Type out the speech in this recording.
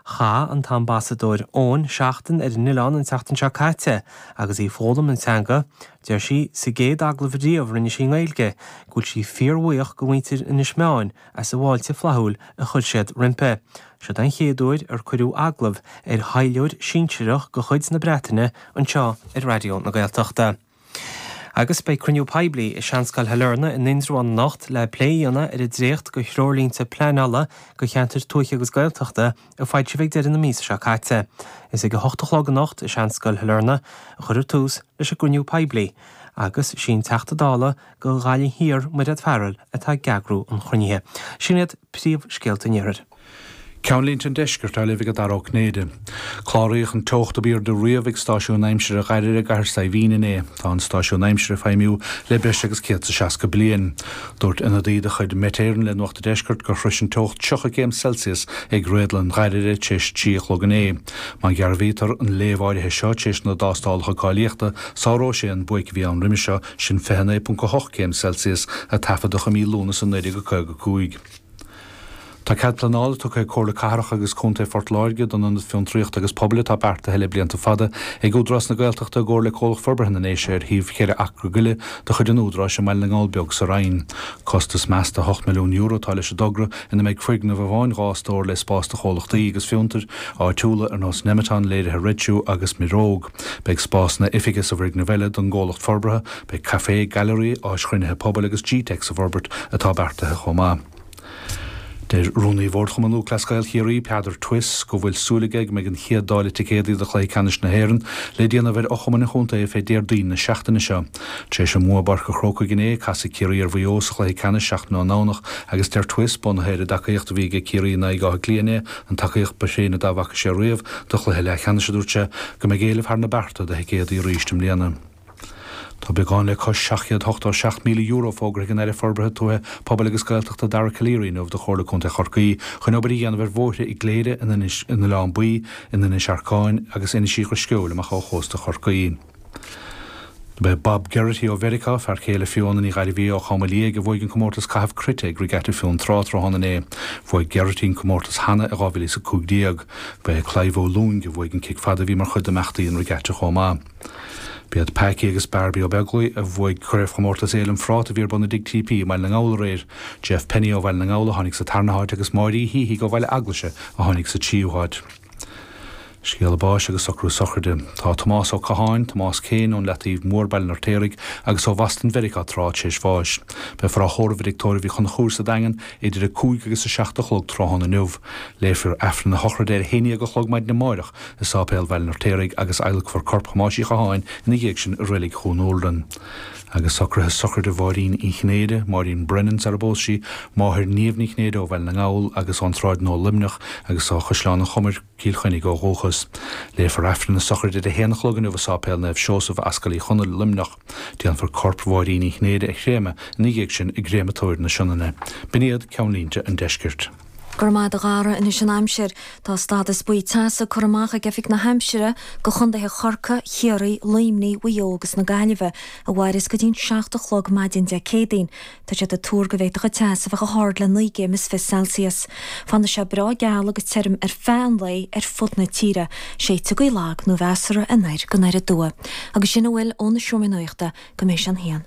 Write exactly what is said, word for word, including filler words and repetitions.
Chaith an tAmbasadóir Owen seachtain ar an oileán an tseachtain seo caite agus í ag foghlaim an teanga, deir sí sa gcéad agallamh riamh rinne sí i nGaeilge, go bhfuil sí fíorbhuíoch go mhuintir Inis Meáin as an bhfáilte flaithiúil a chuir siad roimpi. Seo an chéad uair ar cuireadh agallamh ar thaidhleoir sinsearach de chuid na Breataine anseo ar Raidió na Gaeltachta. Agus beidh cruinniú poiblí i Seanscoil Shailearna in Indreabhán anocht le plé a dhéanamh ar an dréacht de threoirlínte pleanála do cheantair tuaithe agus Gaeltachta a foilsíodh ag deireadh na míosa seo caite. Is ag a hocht a chlog anocht i Seanscoil Shailearna a chuirfear tús leis an gcruinniú poiblí, agus sí an Teachta Dála do Ghaillimh Thiar Mairéad Farrell atá ag eagrú an chruinnithe. Sin iad príomhscéalta an iarthair. Ceannlínte an Deiscirt á léamh ag Dara Ó Cinnéide. Cláraíodh an teocht ab airde riamh ag stáisiún aimsire Ghairire i gCathair Saidhbhín inné. Tá an stáisiún aimsire ag feidhmiú le breis agus céad is seasca bliain. Dúirt ionadaí de chuid Met Éireann le Nuacht an Deiscirt gur shrois an teocht tríocha céim Celsius ag réadlann Ghairire tar éis trí a chlog inné. Má dhearbhaítear an léamh áirithe seo tar éis na dtástálacha cáilíochta, sáróidh sé an buaic a bhí ann roimhe seo, sin fiche naoi ponc a hocht céim Celsius a taifeadadh i mí Lúnasa naoi déag caoga cúig. Tá cead pleanála tugtha ag Comhairle Cathrach agus Contae Phort Láirge don Ionad Fiontraíochta agus Pobail atá beartaithe le blianta fada ag Údarás na Gaeltachta i gcomhar le Comhlacht Forbartha na nDéise ar shuíomh cheithre acra go leith de chuid an Údaráis i mBaile na nGall Beag sa Rinn. Costas measta ocht milliún euro atá leis an dtogra ina mbeidh foirgneamh amháin dhá stór le spás do chomhlachtaí agus fiontair áitiúla ar nós Nemeton, Léirithe Red Shoe agus Miróg. Beidh spásanna oifige sa bhfoirgneamh eile don gcomhlacht forbartha, beidh caifé, gailearaí, áis chruinnithe pobail agus G-Tech sa bhforbairt atá beartaithe chomh maith. Deir Rúnaí Bhord Chumann Lúthchleas Gael Chiarraí Peadar Twiss go bhfuil súil aige go mbeidh an chéad dáileadh ticéadaí do chluiche ceannais na hÉireann le déanamh ar fhochumainn an chontae fé Déardaoin na seachtaine seo. Tar éis an bhua i bPáirc an Chrócaigh inné, casfaidh Ciarraí ar Mhaigh Eo sa chluiche ceannais seachtain ón nDomhnach agus deir Twiss, bunaithe ar an dtacaíocht a bhí aige Ciarraí in aghaidh Átha Cliath inné, an tacaíocht ba thréine dá bhfaca sé riamh do chluiche leathcheannais, a dúirt sé, go mbeidh éileamh thar na bearta do thicéadaí arís i mbliana. Tá beagán le cois seacht chéad ochtó seacht míle euro fógartha ag an Aire Forbartha Tuaithe, Pobail agus Gaeltachta Dara Calleary inniu do Chomhairle Contae Chorcaí chun obair a dhéanamh ar bhóithre i gCléire, in Inis, in Oileán Buí, in Inis Arcáin agus Inis Uí Dhrisceoil amach ó chósta Chorcaí. Ba é Bob Geraghty ó Mheiriceá, fear céile Fiona Ní Ghairbhí ó Chama Liag a bhuaigh an comórtas caitheamh cruite ag Regatta Fionntrá tráthnóna inné. Bhuaigh Geraghty an comórtas cheana i dhá mhíle is a cúig déag. Ba é Clive Ó Lúing a bhuaigh an cic fada a bhí mar chuid d'imeachtaí an Regatta chomh maith. B'iad Packy agus Barbie Ó Beaglaoi a bhuaigh craobhchomórtas Fhéile an Phráta a bhí ar bun i dTigh TP i mBaile na nGall aréir. Jeff Penny ó Bhaile na nGall a tháinig sa tarna háit agus Máirí Híhí ó Bhaile Eaglaise a tháinig sa tríú háit. Scéala báis agus socrú sochraide. Tá Tomás Ó Catháin, Tomás Céin ón Leataobh Mór Baile an Fheirtéaraigh agus ó Bhoston Mheiriceá tráth tar éis bháis. Beifear á thórramh i dTigh Tórraimh Uí Chonchúir sa Daingean idir a cúig agus a seacht a chlog tráthnóna inniu. Léifear Aifreann na sochraide ar a haon déag a chlog maidin amárach i Sáipéal Bhaile an Fheirtéaraigh agus adhlacfar corp Thomáis Uí Chatháin ina dhiaidh sin i reilig Dhún Úrlann. Agus socruithe sochraide Mháirín Uí Chinnéide, Máirín Brennan sar a bpós sí, máthair Niamh Ní Chinnéide ó Bhaile na nGall agus ón Tsráid Nua Luimneach agus ó Chaisleán an Chomair, Cill Chainnigh ó dhúchas. Léifear Aifreann na sochraide ar a haon a chlog inniu i Sáipéal Naomh Seosamh Ascaill Uí Chonaill, Luimneach. Déanfar corp Mháirín Uí Chinnéide a chréamadh ina dhiaidh sin i gcréamatóir na Sionainne. B'in iad ceannlínte an deiscirt. Go raibh maith agat a Dhara anois an aimsir. Tá stádas buí teasa curtha amach ag Oifig na hAimsire do chontaetha Chorcaí, Chiarraí, Luimnigh, Mhaigh Eo agus na Gaillimhe, a mhairfeas go dtí an seacht a chlog maidin Dé Céadaoin. Tá siad ag tuar go bhféadfadh an teas a bheith chomh hard le naoi gcéim is fiche Celsius. Fanfaidh sé breá geal agus tirim ar feadh an lae ar fud na tíre. Séidfidh gaoth lag nó mheasartha anoir go anoir aduaidh. Agus sin a bhfuil ó na Seomraí Nuachta go mbeidh sé an haon.